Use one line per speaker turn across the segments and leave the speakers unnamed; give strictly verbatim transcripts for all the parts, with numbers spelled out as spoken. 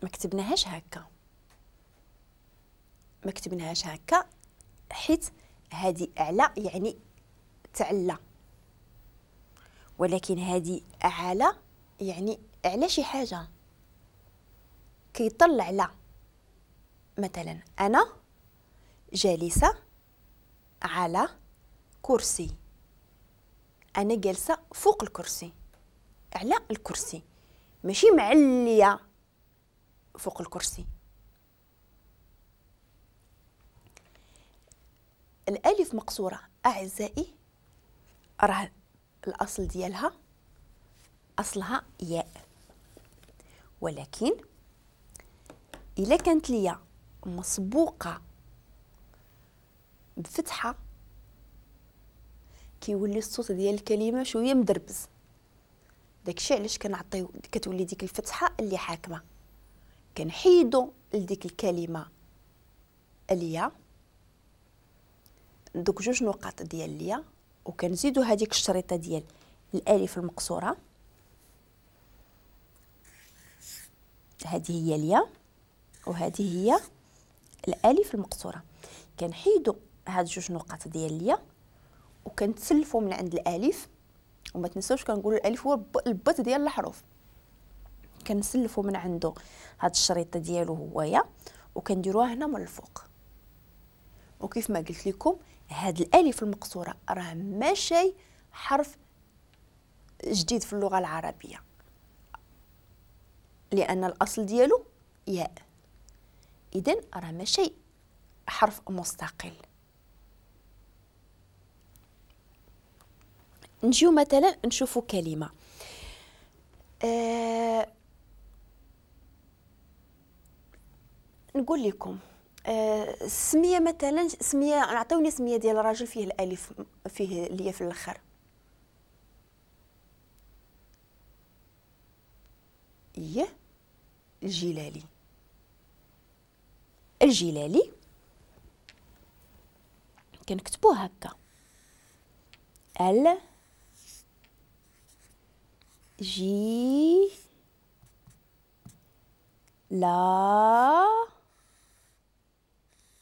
ما كتبناهاش هكا، ما كتبناهاش هكا حيت هذه اعلى يعني تعلى، ولكن هذه اعلى يعني على شي حاجة كيطلع على. مثلا انا جالسة على كرسي، انا جالسة فوق الكرسي، على الكرسي، ماشي معليه فوق الكرسي. الالف مقصورة اعزائي راه الاصل ديالها اصلها ياء، ولكن الا كانت ليا مسبوقة بفتحه كيولي الصوت ديال الكلمة شوية مدربز. داكشي علاش كنعطيو كتولي ديك الفتحة اللي حاكمه، كنحيدو لديك الكلمة اليا دوك جوج نقاط ديال اليا، وكنزيدو هذيك الشريطه ديال الالف المقصورة، هذه هي اليا وهذه هي الالف المقصورة. كنحيدو هاد جوج نقاط ديال اليا وكنتسلفو من عند الالف، وما تنساوش كنقولوا الالف هو البط ديال الحروف، كنسلفو من عنده هاد الشريطه ديالو هويا وكنديروها هنا من الفوق. وكيف ما قلت لكم هاد الالف المقصورة راه ماشي حرف جديد في اللغة العربية، لان الاصل ديالو ياء، اذا راه ماشي حرف مستقل. نجيو مثلا نشوفوا كلمة أه نقول لكم أه سميه، مثلا سميه، نعطيوني سميه ديال راجل فيه الالف فيه الياء في الاخر. ايه الجلالي، الجلالي كنكتبوه هكا ال جي لا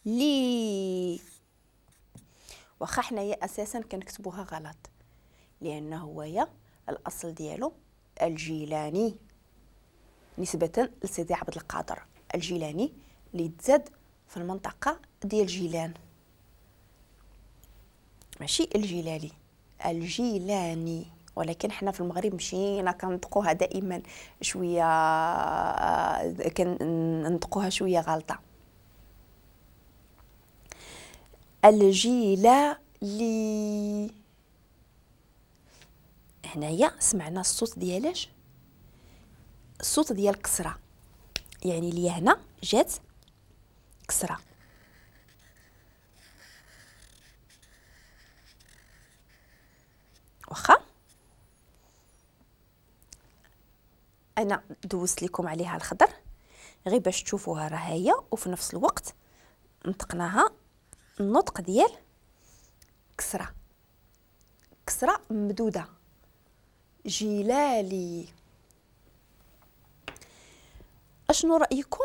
لي. واخا حنايا اساسا كنكتبوها غلط لانه هو يا الاصل ديالو الجيلاني نسبة لسيدي عبد القادر الجيلاني اللي تزاد في المنطقة ديال جيلان، ماشي الجلالي، الجيلاني. ولكن حنا في المغرب مشينا كنطقوها دائما شوية، كنطقوها شوية غلطه. الجيلالي، هنايا سمعنا الصوت ديالاش؟ الصوت ديال كسره، يعني لي هنا جات كسره. واخا انا دوزت لكم عليها الخضر غير باش تشوفوها راه هي، وفي نفس الوقت نطقناها النطق ديال كسره، كسره ممدوده، جلالي. اشنو رايكم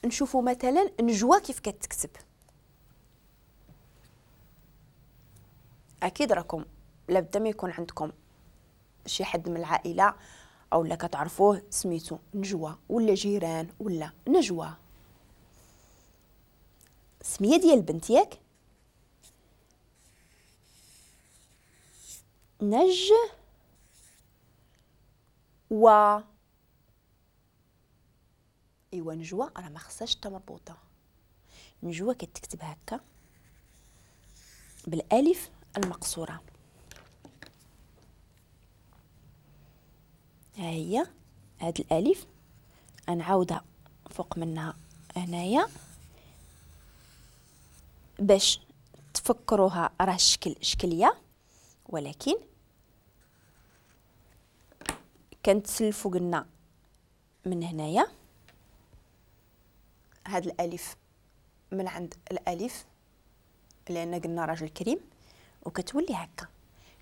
نشوفوا مثلا نجوى كيف كتكتب؟ اكيد راكم لابد ما يكون عندكم شي حد من العائلة او لا كتعرفوه سميتو نجوى، ولا جيران، ولا نجوى سميه ديال البنت ياك، نج و ايوا نجوى راه ما خصهاش تا مربوطة، نجوى كتكتب هكا بالالف المقصورة، ها هي هاد الالف نعاودها فوق منها هنايا باش تفكروها راه الشكل شكلية، ولكن كنتسلفوا قلنا من هنايا هاد الالف من عند الالف لان قلنا راجل كريم، وكتولي هكا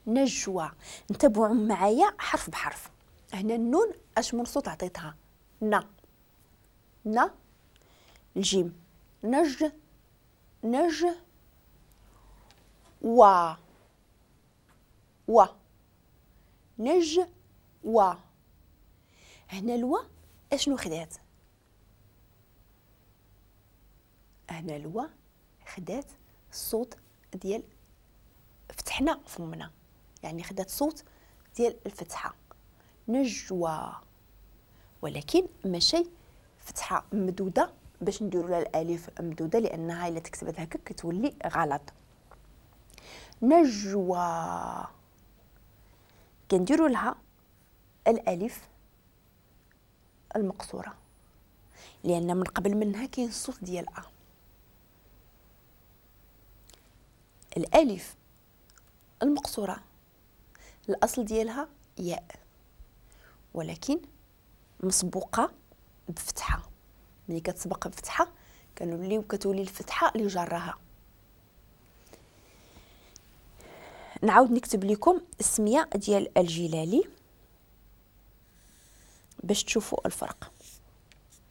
نجوى. انتبهوا معايا حرف بحرف. هنا النون اش من صوت عطيتها؟ نا. ن الجيم، نج نج و و نج و. هنا الوا اشنو خدات؟ هنا الوا خدات الصوت ديال فتحنا فمنا، يعني خدات صوت ديال الفتحة نجوى، ولكن ماشي فتحه ممدوده باش نديروا لها الالف ممدوده، لانها الا تكتبت هكا كتولي غلط. نجوى كنديروا لها الالف المقصورة لان من قبل منها كاين الصوت ديال ا. الالف المقصورة الاصل ديالها ياء، ولكن مسبوقة بفتحه. ملي كتسبق بفتحه كنوليو كتولي الفتحة اللي جراها. نعاود نكتب لكم السمية ديال الجلالي باش تشوفوا الفرق.